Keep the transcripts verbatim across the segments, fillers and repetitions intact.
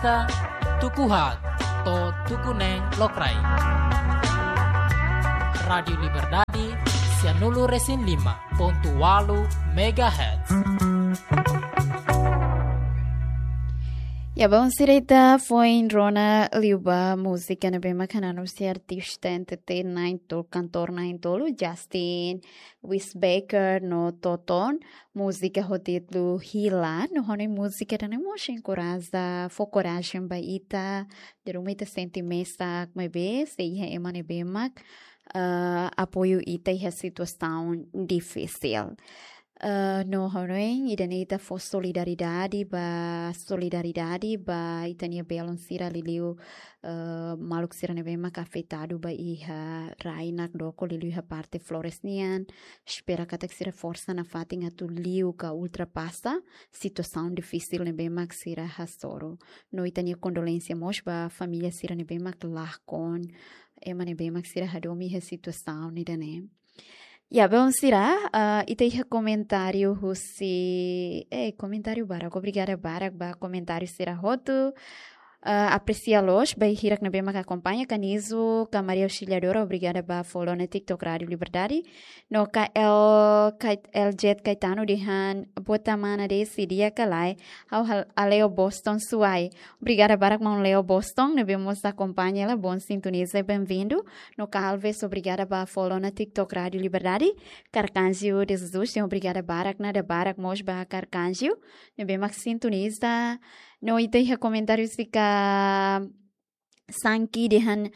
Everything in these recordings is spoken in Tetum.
Tuku haat to'o tuku neen lokraik. Rádiu Liberdade, sianulu resin lima pontu ualu megahertz. Ya, belun sira, ita foin rona liu ba múzika ne'ebé mak hananu husi artista N T T na'in-tolu, kantór na'in-tolu, Justin Wisebecker no Toton. Múzika ho títulu Hila, no hanoin múzika ida-ne'e mós enkoraja, fó korajen ba ita, dala ruma ita sente mesak, maibé sei iha ema ne'ebé mak, ah, apoiu ita iha situasaun difisil. Ah, no hanoin ida-ne'e ita fó solidariedade ba, solidariedade ba ita-nia belun sira liuliu, ah, maluk sira ne'ebé mak afetadu ba iha rai nakdoko liuliu iha parte Flores nian. Espera katak sira forsa nafatin atu liu ka ultrapasa situasaun difisil ne'ebé mak sira hasoru. No ita-nia kondolénsia mós ba família sira ne'ebé mak lakon, ema ne'ebé mak sira hadomi iha situasaun ida-ne'e. Ya, belun sira, ah, ita iha komentáriu husi, eh, komentáriu barak, obrigada barak ba komentáriu sira hotu. Ah, apresia loos ba hirak ne'ebé mak akompaña, Kanizu, ka Maria Auxiliadora, obrigada ba follow ona TikTok Rádiu Liberdade. No K L, Kait-, L J Caetano dehan, boot mana, Desi, di'ak ka lae, ha'u hal-, hale'u Boston, Suai. Obrigada barak maun Leo Boston, ne'ebé mós akompaña hela, bom sintoniza, bem-vindo. No Calves, obrigada ba follow ona TikTok Rádiu Liberdade. Carcanjo de Jesus, obrigada barak, nada barak mós ba Carcanjo, ne'ebé mak sintoniza. No ita iha komentáriu husi Ka Sanki dehan,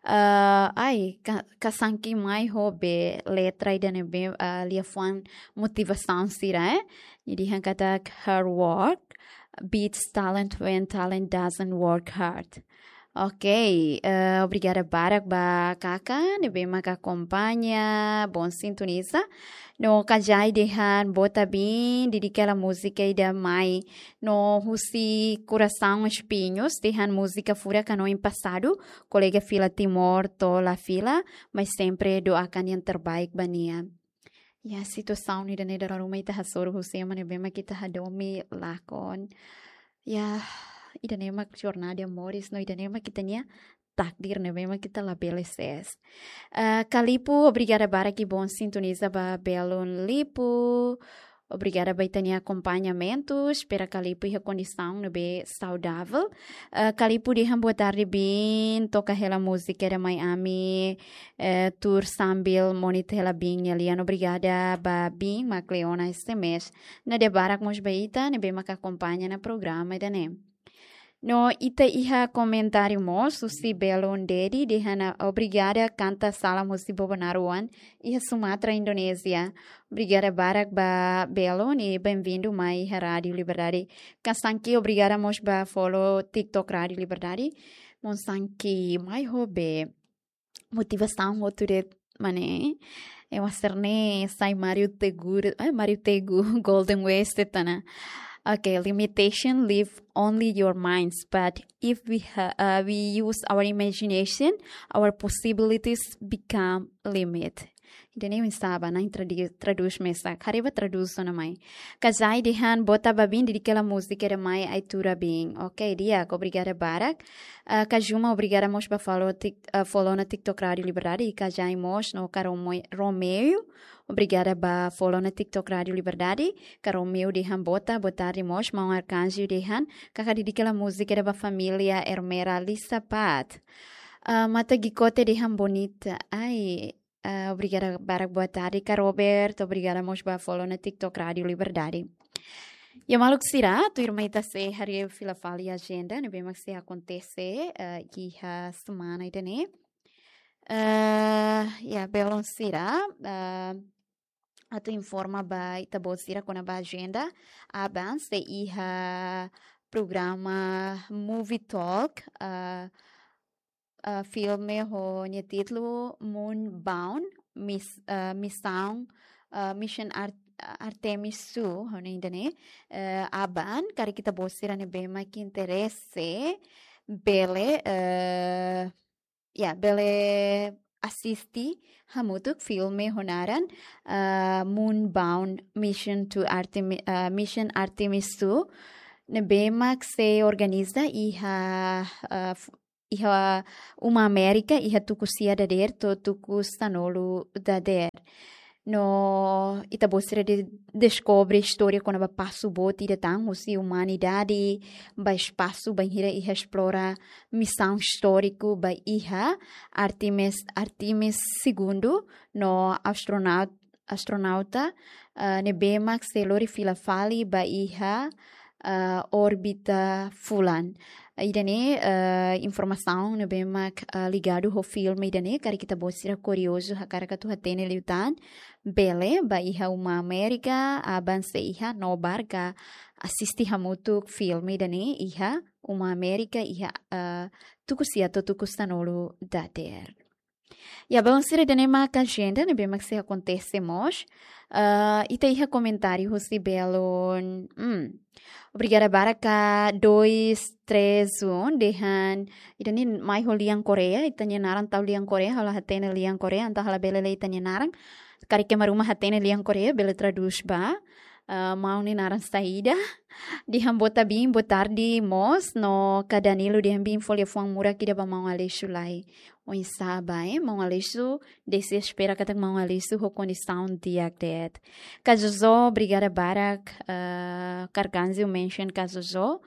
ah, ai, Ka, Ka Sanki mai ho be letra ida-ne'ebé, ah, liafuan motivasaun sira, eh? Nia dehan katak hard work beats talent when talent doesn't work hard. Ok, eh, obrigada barak ba Kaka ne'ebé mak akompaña, bom sintoniza. No Kajai dehan boot, Bin, dedika hela múzika ida mai. No husi Coração Espinhos dehan múzika furak hanoin pasadu, kolega fila Timor to'o la fila, mas sempre doakan yang terbaik ba nia. Ya, situasaun ida-ne'e dala ruma ita hasoru husi ema ne'ebé mak ita hadomi lakon. Ya, ida-ne'e mak jornada de amores, no ida-ne'e mak ita-nia takdir ne'ebé mak ita labele sees. Eh, Kalipu, obrigada barak i bom sintoniza ba belun Lipu. Obrigada ba ita-nia akompañamentu. Espera Kalipu iha kondisaun ne'ebé saudavel. Eh, Kalipu dehan boa tarde, Bin. Toka hela múzika ida mai ami, eh, tuur sambil monitor hela Bin nia lian. Obrigada ba Bin, mak Leona S M S. Nada barak mós ba ita ne'ebé mak akompaña ona programa ida-ne'e. No ita iha komentáriu mós husi belun Dedi dehan, obrigada, kanta salam husi Bobonaro oan iha Sumatra, Indonézia. Obrigada barak ba belun i bem-vindo mai iha Rádiu Liberdade. Ka Sanki, obrigada mós ba follow TikTok Rádiu Liberdade. Maun Sanki mai ho be motivasaun hotu de'it, mane, eh, ema sira-ne'e sai Mario Tego, eh, Mario Tego, Golden West, de'it ona. Okay, limitation leave only your minds, but if we ha-, uh, we use our imagination, our possibilities become limit. Ida-ne'e oinsá ba, na'in tradi-, tradús mesak, haree ba tradús ona mai. Kajai dehan boot ba Bin, dedika hela múzika ida mai, Ai Tuur Bin. Ok, di'ak, obrigada barak. Ah, Kajuma, obrigada mós ba follow tik-, ah, follow ona TikTok Rádiu Liberdade, i Kajai mós no Ka Rome-, Romeu. Obrigada ba follow ona TikTok Rádiu Liberdade. Ka Romeu dehan boot, boa tarde mós, maun Arkanjo dehan, Kaka, dedika hela múzika ida ba família Ermera Lisa Pat. Ah, Mata Gikote dehan bonita. Ai, ah, obrigada barak, boa tarde, Ka Robert. Obrigada mós ba follow ona TikTok Rádiu Liberdade. Ya, maluk sira, tuirmai ita sei haree fila fali ajenda ne'ebé mak sei akontese, eh, iha semana ida-ne'e. Eh, ya, belun sira, eh, atu informa ba ita-boot sira kona-ba ajenda, aban sei iha programa Movie Talk, eh, eh, filme ho nia títulu Moonbound, Mis-, eh, Misaun, eh, Mission Art-, Artemis Two, hanoin ida-ne'e, eh, aban, karik ita-boot sira ne'ebé mak interese, bele, eh, ya, bele asiste hamutuk filme ho naran, eh, Moonbound Mission to Artemi-, eh, Mission Artemis Two. ne'ebé mak sei organiza iha, ah, f-, iha uma Amérika, iha tuku sia dadeer to'o tuku sanulu dadeer. No ita-boot sira de-, deskobre istória kona-ba pasu boot ida tan husi umanidade ba espasu bainhira iha esplora misaun istóriku ba iha Artemis, Artemis segundu no astronaut-, astronauta, ah, ne'ebé mak sei lori fila fali ba iha, ah, órbita fulan. Ida-ne'e, ah, informasaun ne'ebé mak, ah, ligadu ho filme ida-ne'e, karik ita-boot sira kuriozu hakarak atu hatene liután, bele ba iha uma Amérika, aban sei iha no bá ka asiste hamutuk filme ida-ne'e iha uma Amérika iha, ah, tuku sia to'o tuku sanulu dadeer. Ya, belun sira, ida-ne'e mak ajenda ne'ebé mak sei akontese mós. Ah, ita iha komentáriu husi belun. Hmm. Obrigada barak ka dois três um, dehan ida-ne'e mai ho lian Korea, ita-nia naran tau lian Korea, ha'u la hatene lian Korea, entaun ha'u labele lee ita-nia naran. Karik ema ruma hatene lian Korea, bele tradús ba. Ah, maun nia naran saida? Dehan boa ta-, bin, boa tarde mós, no ka Danilo dehan bin fó liafuan murak ida ba maun Aleixo lai. Oinsá ba, eh? Maun Aleixo, desi espera katak maun Aleixo ho kondisaun di'ak de'it. Ka Jojo, obrigada barak, ah, Carganzio mention ka Jojo.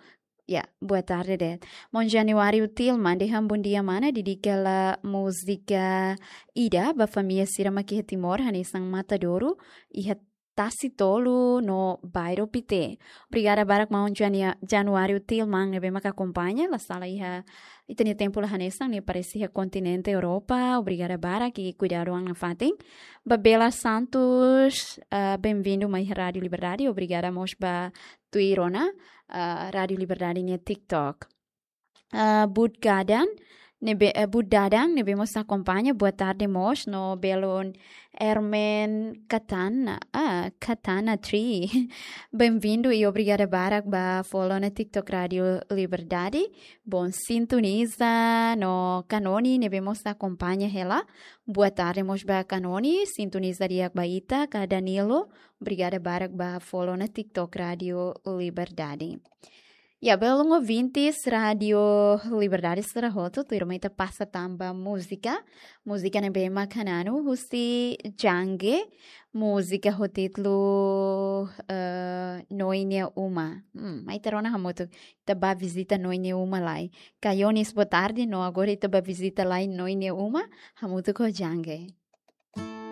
Ya, boa tarde de'it. Maun Januário Tilman dehan bom dia mana, dedika hela múzika ida ba família sira mak iha Timor, hanesan Matadouro, iha Tasi Tolu no Bairro Pité. Obrigada barak maun Jania-, Januário Tilman ne'ebé mak akompaña, la sala iha ita-nia tempu la hanesan, nia parese iha kontinente Europa. Obrigada barak i kuidadu an nafatin. Ba Bela Santos, ah, bem-vindo mai Rádio Liberdade. Obrigada mós ba tuir ona, ah, Rádio Liberdade nia TikTok. Ah, Bud Gadan, ne'ebé, eh, Bud Dadang, ne'ebé mós akompaña, boa tarde mós, no belun Hermen Katana, ah, Katana Tree. Bem-vindo i obrigada barak ba follow ona TikTok Rádio Liberdade. Bon, sintoniza no Kanoni, ne'ebé mós akompaña hela. Boa tarde mós ba Kanoni, sintoniza di'ak ba ita, ka Danilo, obrigada barak ba follow ona TikTok Rádio Liberdade. Ya, belun ouvintes Rádio Liberdade sira hotu, tuirmai ita pasa tan ba múzika. Múzika ne'ebé mak hananu husi Jange, múzika ho títulu, eh, Noin nia Uma. Hmm, mai ita rona hamutuk, ita bá vizita Noin nia Uma lai. Ka Yonis, boa tarde, no agora ita bá vizita lai Noin nia Uma, hamutuk ho Jange.